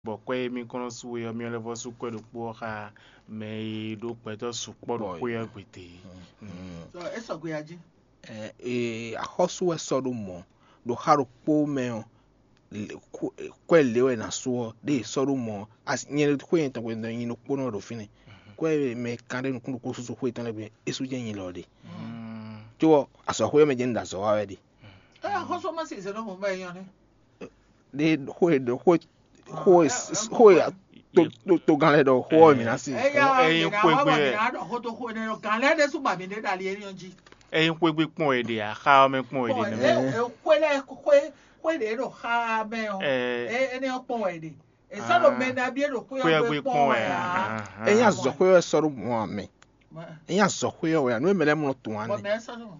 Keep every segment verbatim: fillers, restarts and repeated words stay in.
Bɔ kwɛ́ e mì kɔn nɔ su é ɔ́, mì lɛ́ vɔ́ sú kwɛ́ ɖokpó ɔ́ xá mɛ e ɖó gbɛtɔ́ sukpɔ́ ɖo xwé ɔ́ gbe dě. Sɔ é sɔgbe a jí. Ɛ, ee, axɔ́sú wɛ sɔ́ ɖó mɔ̌ ɖo xá ɖokpó mɛ ɔ́, kwɛ́ lě wɛ è nǎ sú ɔ́, ɖěe è sɔ́ ɖó mɔ̌ ɔ́, nyɛ xwé nyɛ tɔn xwedó nyi ɖokpónɔ ɖo fínɛ́. Kwɛ́ e mɛ kan ɖé nukún ɖokpó súsú xwé tɔn lɛ́ɛ bǐ é sú jɛ́n nyi lɔ ɖe. Có ɔ́, azɔ̌xwé ɔ́ mɛ jɛ́n un ɖo azɔ̌ wa wɛ ɖe. Ɛ axɔ́sú má se zɛ̌ nɔ mɔ̌ bɔ é nyɔ́ nɛ́. Ɖe xwé ɖe xwé xwé xwé to- to- togán lɛ́ɛ ɖɔ xó ɔ́ mǐ ná sí. Eya Eye mǐ ná xwé wá gbé bɔ mǐ ɛ. Ná ɖɔ xó dó xó énɛ́ ɖɔ gǎn lɛ́ɛ ɖésú ba mǐ ɖe ɖo ali énɛ́ jí. Eye xwé gbé kpɔn è ɖe axa ɔ́ mɛ kpɔn è ɖe nɛmɛ. Ɛ, ɛ, xwé lɛ́ɛ xwé xwé ɖě ɖo xa mɛ ɔ́. Ɛ. Ɛ, énɛ́ ɔ́ kpɔn wɛ è ɖe. È sɔ́ ɖo mɛ nabí é ɖo xwé ɔ́ gbé kpɔn wɛ ǎ. Ahán. Enya zɔ xwé wɛ sɔ́ ɖó mɔ̌ ame. Enya zɔ xwé ɔ́ wɛ anu emɛ lɛ́ɛ mlɔ tun Bɔ ane. Mɛ ɛ sɔ́ ɖo mɔ.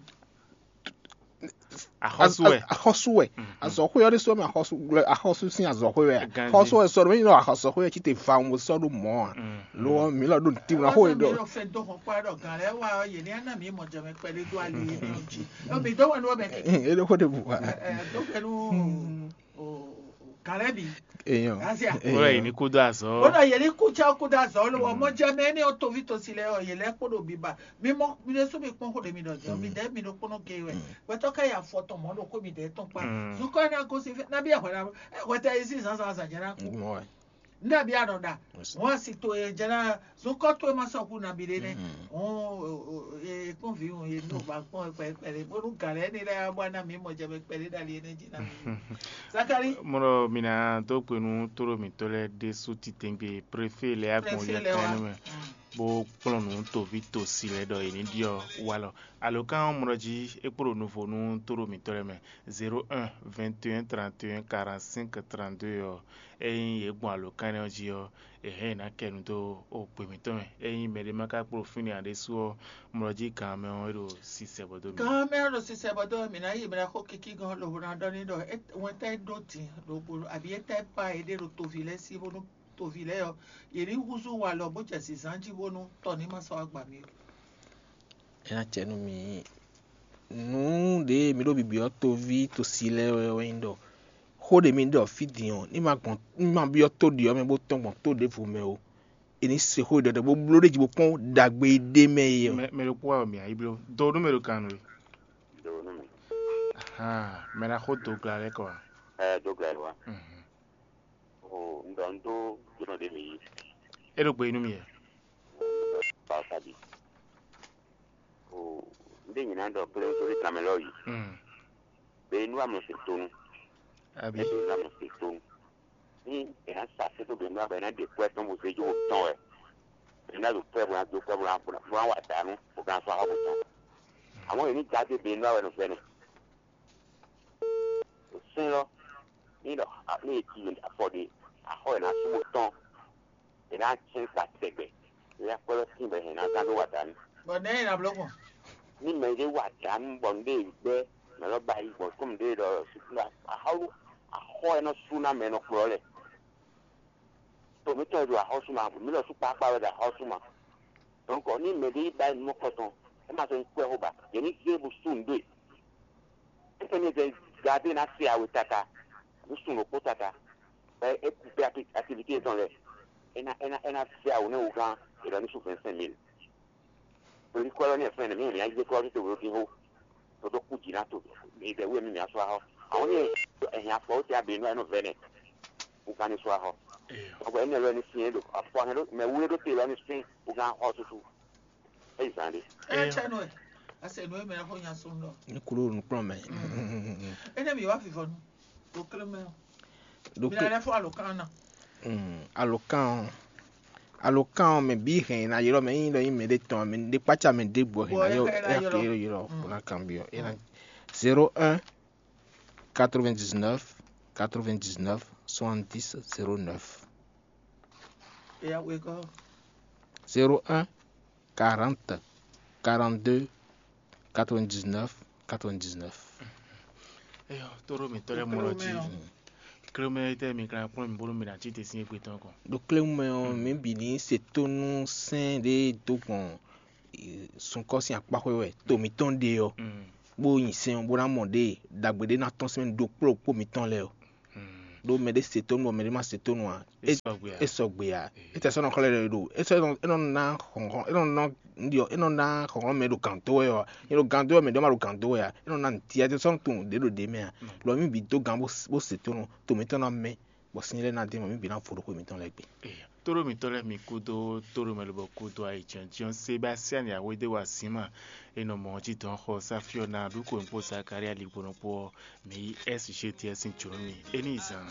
Axɔ́sú wɛ. Axɔ́sú wɛ. Azɔxwé ɔ́ ɖésú mɛ axɔ́sú axɔ́sú sín azɔxwé wɛ. Ganjí. Axɔ́sú wɛ sɔ́ ɖo mɛ nyí nɔ axɔ́sɔxwé wɛ cíte va ŋu sɔ́ ɖo mɔ̌ ǎ. Lo ɔ́ mǐ lɔ ɖo nǔ tímlɔ xó e ɖɔ. Fɛn dó xɔ kpá ɖɔ gǎn lɛ́ɛ wá ɔ́ yě ní ana mǐ mɔ jɛmɛ kpɛɖé dó ali é nɔ jí. Ɖó mǐ dó wɛ nú ɔ́ mɛ kɛkɛ. É ɖo xó ɖé bu wa. Ɛ, ɛ, dó fɛn nú o- o- gǎn lɛ́ɛ bǐ. Eyɔn. Azia. Wọ́n yìí ní kú dó azɔ̌. Wọ́n yìí ní kú tsá kú dó azɔ̌ ló wọ́n mɔ jẹ́ mɛ ní o tóvi tó si lɛ ɔ yě lɛ kpó ɖo bíbá. Mi mɔ mi ɖe sú mi kpɔn xó ɖe mi ɖɔ jɛ mi ɖɛ mi ɖo kpɔnɔ ke wɛ. Wɛtɔ ka ya fɔ tɔn mɔ ɖo kó mi ɖɛ tɔn kpa. Zukɔ na gosi fɛ na bi ahwɛ na wɛtɛ yi si zan zan zan jɛ na kú. Mɔ ɛ. Ne bi anɔ ɖa. Wọn si to ye jɛ na zukɔ to ma sɔ ku na bi ɖe nɛ. Wọn e kpɔn vi wọn ye nu ba kpɔn kpɛ kpɛ ɖe bonu galɛ ni lɛ bɔ na mi mɔ jɛ mɛ kpɛ ɖe ɖali ye ne ji na mi. Zakari. Mɔɖɔ mina dó gbe nú tóɖó mǐtɔn lɛ́ɛ ɖésú titɛngbé préfé lɛ́ɛ agbɔn Préfé lɛ́ɛ yɛkɛnɛ wá. Mɛ bó kplɔ́n nǔ toví tosi lɛ́ɛ ɖɔ yě ní ɖyɔ́ walɔ. Alǒkan ɔ́ mlɔ jí é kpo ɖo nuvo nú tóɖó mǐtɔn lɛ́ɛ mɛ. Zéro un, vingt et un, trente et un, quarante-cinq, trente-deux ɔ́, ényí yě gbɔn alǒkan énɛ́ ɔ́ jí ɔ́, è hɛn yě ná kɛ nu dó o gbe mǐtɔn mɛ. Ényí mɛɖé ma ka kpo fínɛ́ ǎ ɖésú ɔ́, mlɔ jí gan mɛ ɔ́ é ɖo sisɛ bɔ dó mì. Gan mɛ ɔ́ ɖo sisɛ bɔ dó mì ná yi mɛ ná xó kíkí gan lobo ná ɖɔ ní ɖɔ é- wɛn tɛ́ ɖó din lobo abǐ é tɛ́ pa é ɖé ɖo toví lɛ́ɛ sí bónú toví lɛ́ɛ ɔ́, yě ní húzú walɔ bó jɛ zǐnzán jí bónú tɔ ní ma sɔ́ wá gba mì ó. É ná cɛ nú mi nǔ ɖě mi ɖo bibyɔ́ toví tosi lɛ́ɛ wɛ wɛ nyí ɖɔ xó ɖě mi ɖɔ fí din ɔ́, ní ma gbɔn ní ma byɔ́ tó ɖě ɔ́ mɛ bó tɔ́n gbɔn tó ɖěvo mɛ ó. È ní se xó e ɖɔ ɖɔ bó bló ɖ'é jí bó kpɔ́n ɖagbe e ɖ'é mɛ é ɔ́. Mɛ mɛ ɖokpó wá wɛ mǐ yí bló. Do nú mɛ ɖo kan nú we. Do nú mì. Ahan, mɛ ná xó do gla lɛ́ɛ kɔ wá. Ɛ do gla ɛ wá. Mhm. O un ɖɔ un dó jǒnɔ ɖé mǐ yí. É ɖo gbe nú mì yɛ. Ba ɔ́ ka ɖi. O un ɖé nyǐ ná ɖɔ kplé sórí kanmɛ lɔ yi. Mm. Be nú amɔ se tonu. Abi. Be nú amɔ se tonu. Ní è nǎ sa sɛ́ dó be nú abɛ ná ɖe kúɛ tɔn bó zé jó bó tɔn wɛ. Be ná ɖo kúɛ bó ná dó kúɛ bó ná bó ná wá dǎnú bó ná sɔ́ axɔ́ bó tɔn. Àmọ́ è ní gǎ dó be nú awɛ nɔ vɛ́nɛ. Sɛ́n lɔ ní ɖɔ ní è ji afɔ ɖe axɔ́ è nǎ sú bó tɔn. È nǎ cɛ́n sa tɛgbɛ. È nǎ kpɔ́ lɔ tín bɔ è nǎ gán dó wá dǎnú. Bɔ nɛ̌ è nǎ bló gbɔn? Ní mɛ ɖé wa dǎnú bɔ nǔɖé gbɛ́ mɛ lɔ ba yi gbɔn kɔmi ɖé ɖɔ axɔ́ axɔ́ ɛ nɔ sú ná mɛ nɔ kplɔ́ lɛ. To mǐtɔn e ɖo axɔ́sú ma, mǐ lɔ sú kpákpá wɛ ɖo axɔ́sú ma. Donc ní mɛ ɖé yi ba yi nú mɔkɔ tɔn, é ma sɔ́ nyí kpɛ́ xó ba, yě ní zé bó sú nǔɖé. É fɛ́nɛ zɛ gǎdé ná se awe tata, bó sú nǔ kpó tata, bɔ é kú pé activité tɔn lɛ, é ná é ná é ná zé awe nɛ́ wú gán, è ɖɔ ní sú vingt-cinq mille. Torí kɔ́lɔ́ ní ẹ̀fọn ẹ̀nà mí mǐ ayíjẹ́ kɔ́lɔ́ ní tòwé dín hó. Tó dó kú jǐ ná to. Ìdẹ̀wú ẹ̀mí mǐ asú ahọ́. Àwọn ní ẹ̀hìn afọ ó ti abǐ nú ẹnu vɛ́nẹ̀. Wú ká ní sú ahọ́. Ọgbà ẹni ẹ̀rọ ẹni sin ẹ̀ lò. Afọ ahẹ́ ló mẹ wúlé ló tè lọ ní sín. Wú ká họ́ súsú. É yì zàn lé. Ɛ tsɛ nɔ ɛ. Ase nɔ ɛ mɛ ko nya sɔn dɔ. Ní kúrò nukplɔn mɛ. Ene mi wa fifɔ nu. O kele mɛ. Ɖo Mi na lɛ fɔ alo kan na. Mm, alɔkan ɔ́, alɔkan ɔ́ mɛ bǐ hɛn ná ylɔ́ mɛ nyí ɖɔ nyí mɛ ɖé tɔn mɛ ɖé kpácá mɛ ɖé gbɔ hɛn Bɔ ná ɛ ylɔ́ ka ɛ ná ná ylɔ́. Ylɔ́ ylɔ́ Mm. Bó ná kan byɔ́ é ná zéro un quatre-vingt-dix-neuf quatre-vingt-dix-neuf soixante-dix zéro neuf. E ya we kɔ. Zéro un quarante quarante-deux quatre-vingt-dix-neuf quatre-vingt-dix-neuf. Eyɔ, tóɖó mǐtɔn lɛ́ɛ mɔ lɔ jí. Klomɛ tɛ mi kan kplɔ́n mi bónú mi ná cí te sín égbé tɔn kɔn. Ɖo kléwún mɛ ɔ́, mǐ bǐ ní se tónú sɛ́n ɖé dó gbɔn sunkɔ́ sín akpáxwé wɛ to mǐtɔn ɖe ɔ́, bó nyi sɛn ɔ́, bó ná mɔ ɖě ɖagbe ɖé ná tɔ́n sín mɛ ɖokpó ɖokpó mǐtɔn lɛ́ɛ ɔ́. ɖó mɛ ɖé se tónú bɔ mɛ ɖé ma se tónú ǎ. É sɔgbe ǎ. É sɔgbe ǎ. É tɛ sɔ́ nɔ xlɛ́ ɖɔ é ɖo é sɔ́ é nɔ ná xɔnxɔn é nɔ ná é nɔ ná xɔnxɔn mɛ ɖo gǎn dó wɛ ɔ́, é ɖo gǎn dó wɛ mɛ ɖé ma ɖo gǎn dó wɛ ǎ. É nɔ ná nǔti ǎ, é tɛ sɔ́ nɔ tunwun ɖě ɖo ɖě mɛ ǎ. Lɔ mǐ bǐ dó gǎn bó bó se tónú, to mǐtɔn ná mɛ, bɔ sin lɛ́ɛ ná dé mɔ mǐ bǐ ná vo ɖo xwe mǐtɔn lɛ́ɛ gbe. Tóɖó mǐtɔn lɛ́ɛ mi kúdó tóɖó mɛ lobɔ kúdó ayǐjínjɔ́n Sebastíani Awédéwa Zǐma e nɔ mɔ̌ jí dɔn xɔ Sáfíɔ ná ɖu ko kpó Zakalía Ligbonɔ kpó ɔ́, mǐ yí S G T S sín jǒnɔ mi. É ní zan.